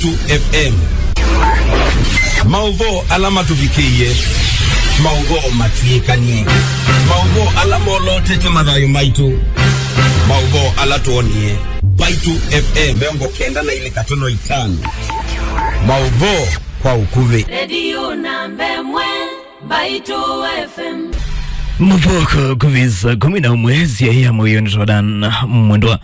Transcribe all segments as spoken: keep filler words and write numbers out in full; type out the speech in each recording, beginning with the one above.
Mbaitu F M. Maũvoo ala matũvikĩie, maũvoo matw'ĩkanie, maũvoo ala molotete mathayũ maitũ, maũvoo ala twonie. Mbaitu F M mĩongo kenda na ilĩ katono itano. Maũvoo kwa ũkuvĩ. Redio namba ĩmwe, Mbaitu F M. Maũvoo kwa ũkuvĩ saa kũmi na ũmwe sya ya mũio nĩ Jordan Mwendwa.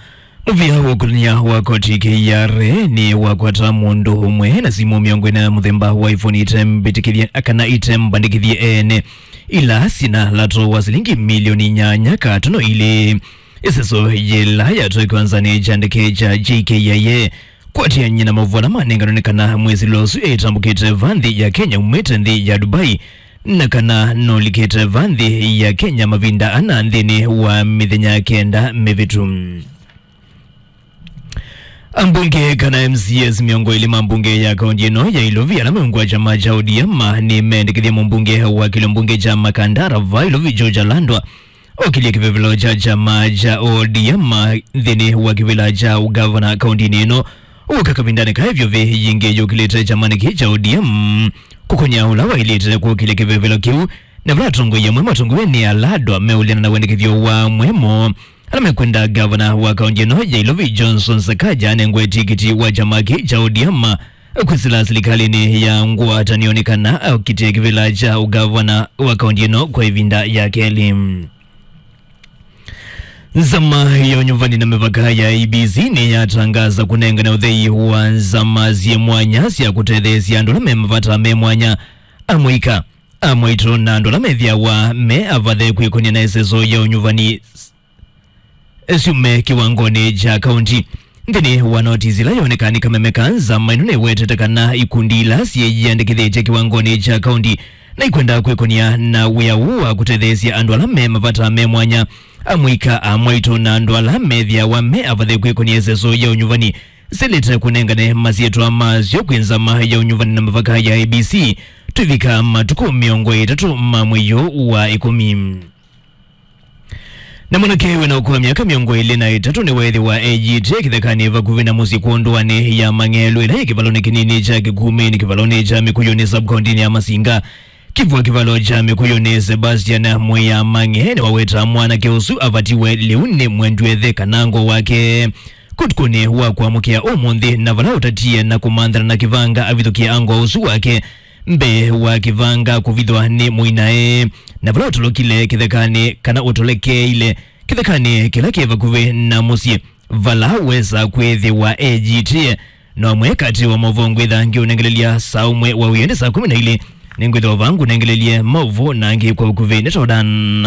Mũvĩa wa ũkũlany'a wa koti K R A nĩwakwata mũndũ ũmwe na simũ mĩongo ĩna ya mũthemba wa iPhone ite mbĩtĩkĩthye kana ite mbandĩkĩthye ene, ila syĩna lato wa silingi milioni nyanya katono ilĩ. Ĩseso yĩla yatwaikiwa nzanĩ kya ndeke kya J K I A kwatĩan'ya na maũvoo ala manenganwe nĩ kana mwĩsĩlo ũsu etambũkĩte va nthĩ ya Kenya umĩte nthĩ ya Dubai, na kana nũlikĩte va nthĩ ya Kenya mavinda ana nthĩnĩ wa mĩthenya kenda mĩvĩtu. Ambunge kana M C As mĩongo ĩlĩ ma mbunge ya kaunti ĩno ya Ilovi ala meungwa kyama kya O D M nĩmendekethie mũmbunge wa kĩlio mbunge kya Makandara va Ilovi George Alandwa okĩlye kĩvevelo kya kyama kya O D M nthĩnĩ wa kĩvĩla kya ũgavana kauntinĩ ĩno. Ũka kavindanĩ ka ĩvyũvĩ yingĩ yũkĩlĩte kyamanĩ kĩĩ kya O D M kũkũnya ũla waĩlĩte kũkĩlya kĩvevelo kĩu, na vala atongoi amwe matongoew'e nĩ Alandwa meũleana na wendekethyo wa amwe moo ala mekwenda gavana wa kaunti ĩno ya Ilovi Johnson Sakaja anengwe tikiti wa kyama kĩĩ kya O D M kwĩsĩla silikalĩnĩ ya ngwatanĩo nĩ kana akitĩe kĩvĩla kya ũgavana wa kaunti ĩno kwa ĩvinda ya kelĩ. Nzama ya ũnyuvani na mĩvaka ya I E B C nĩyatangaza kũnengane ũthei wa nzama syĩ mwanya sya kũtetheesya andũ ala me mavata me mwanya, amũika, amwaitũ na andũ ala methĩawa me avathe kwĩkũnĩa na ĩseso ya ũnyuvani syume kĩwangonĩ kya kaunti. Nthĩnĩ wa notisi ĩla yonekaa nĩ kameme ka nzama ĩno nĩwetete kana ikundi ila syĩyĩandĩkĩthĩtye kĩwangonĩ kya kaunti na ikwenda kwĩkũnĩa na wĩa ũũ wa kũtetheesya andũ ala me mavata me mwanya, amũika, amwaitũ na andũ ala methĩawa me avathe kwĩkũnĩa ĩseso ya ũnyuvani, silĩte kũnengane masyĩtwa masyo kwĩ nzama ya ũnyuvani na mavaka ya I E B C twĩvika matukũ mĩongo ĩtatũ ma mwei ũũ wa ĩkũmi. Na mwanake wĩna ũkũũ wa myaka mĩongo ĩlĩ na ĩtatũ nĩweethĩwa eyĩtĩe kĩthekanĩ vakuvĩ na mũsyĩ kwondũanĩ ya Mang'elu ĩla yĩ kĩvalonĩ kĩnini kya Kĩkumĩnĩ, kĩvalonĩ kya Mĩkũyũnĩ, sub-kauntinĩ ya Masinga. Kĩvwa kĩvalo kya Mĩkũyũnĩ, Sebastian Mwĩamang'e nĩwaweta mwanake ũsu avatiwe lĩu nĩ mwendw'ethe kana ngo wake. Ũtukũnĩ wa kũamũkĩa ũmũnthĩ, na vala ũtatie na kũmanthana na kĩvanga avithũkĩe ango ũsu wake mbee wa kĩvanga kũvithwa nĩ mũinae, na vala ũtolokile kĩthekanĩ kana ũtolekeile kĩthekanĩ kĩla kĩ vakuvĩ na mũsyĩ vala wesa kwĩthĩwa eyĩtĩe. No amwe katĩ wa maũvoo ngwĩtha ngĩũnengelelya saa ũmwe wa wĩoo nĩ saa kũmi na ilĩ. Nĩngwĩthĩwa vaa ngũnengelelye maũvoo na angĩ kwa ũkuvĩ. Nĩ Jordan.